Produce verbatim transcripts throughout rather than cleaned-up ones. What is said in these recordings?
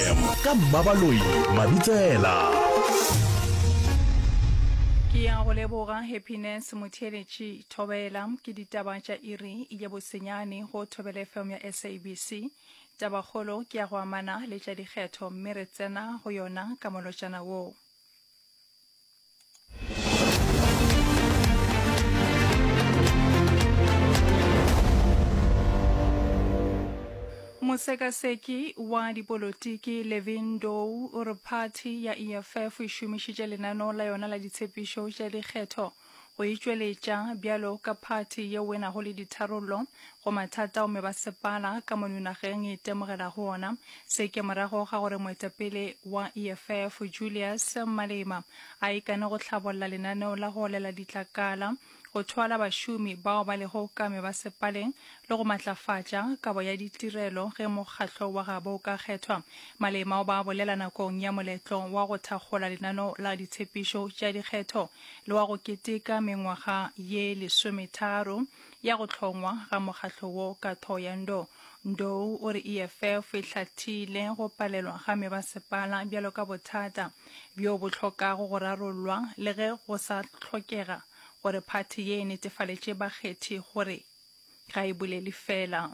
F M ka Mmabaloi Mabitsela. Ke ya go leboga Happiness Motheeletši. Thobela ke ditaba tša iri ya bosenyane go Thobela F M ya S A B C. Tabakgolo ke ya go amana le tša dikgetho, mme re tsena go yona ka molotšana wo. Mosekaseki wa dipolotiki Levin Ndou o re phathi ya E F F e šomišitše lenaneo la yona la ditshepišo tša dikgetho go itšweletša bjalo ka phathi yeo e nago le ditharollo go mathata ao mebasepala ka mono nageng e itemogelago ona. Se ke morago ga gore moetapele wa E F F Julius Malema a ikane go hlabolla lenaneo la go olela ditlakala, go thwala bašomi bao ba lego ka mebasepaleng le go matlafatša kabo ya ditirelo ge mokgatlo wa gabo o ka kgethwa. Malema o ba bolela nakong ya moletlo wa go thakgola lenaneo la ditshepišo tša dikgetho le wa go keteka mengwaga ye lesometharo ya go hlongwa ga mokgatlo wo ka Thohoyandou. Ndou o re E F F e hlathile go palelwa ga mebasepala bjalo ka bothata bjo bo hlokago go rarollwa, le ge go sa hlokega gore phathi ye e netefaletše bakgethi gore ga e bolele fela.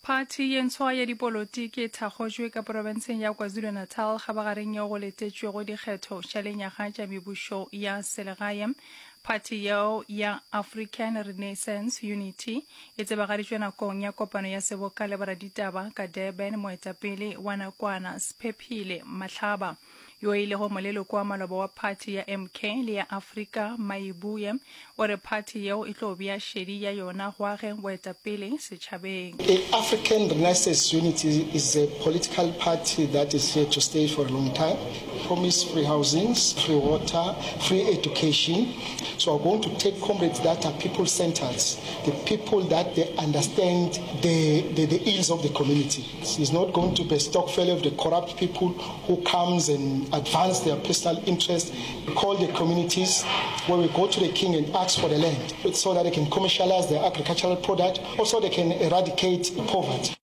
Phathi ye ntshwa ya dipolotiki e thakgotšwe ka porofenseng ya KwaZulu-Natal kgabagareng yeo go letetšwego dikgetho tša lenyaga tša mebušo ya selegae. Phathi yeo ya African Renaissance Unity e tsebagaditšwe nakong ya kopano ya seboka le boraditaba ka Durban. Moetapele wa nakwana Sphephile Mahlaba, yo e lego moleloko wa maloba wa phathi ya M K le ya Afrika Mayibuye, o re phathi yeo e tlo bea šedi ya yona go ageng boetapele setšhabeng. The African Renaissance Unity is a political party that is here to stay for a long time. Promise free housings, free water, free education. So we're going to take comrades that are people-centered, the people that they understand the, the, the ills of the community. It's not going to be a stock failure of the corrupt people who comes and advance their personal interest. We call the communities where we go to the king and ask for the land so that they can commercialize their agricultural product, also they can eradicate poverty.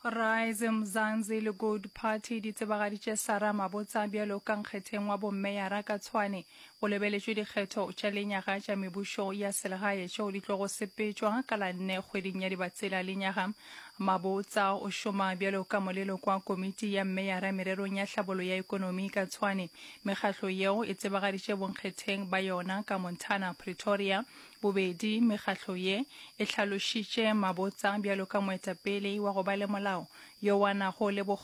Rise Mzansi le Good Party di tsebagaditše Sarah Mabotsa bjalo ka nkgetheng wa bommeyara ka Tshwane go lebeletšwe dikgetho tša lenyaga tša mebušo ya selegae tšeo di tlogo sepetšwa ka la nne kgweding ya Dibatsela lenyaga. Mabotsa o šoma bjalo ka moleloko wa komiti ya mmeyara mererong ya tlhabollo ya ekonomi ka Tshwane. Mekgatlo yeo e tsebagaditše bonkgetheng ba yona ka Montana, Pretoria. Bobedi mekgatlo ye e hlalošitše Mabotsa bjalo ka moetapele wa go ba le molao yo a nago le bokgoni.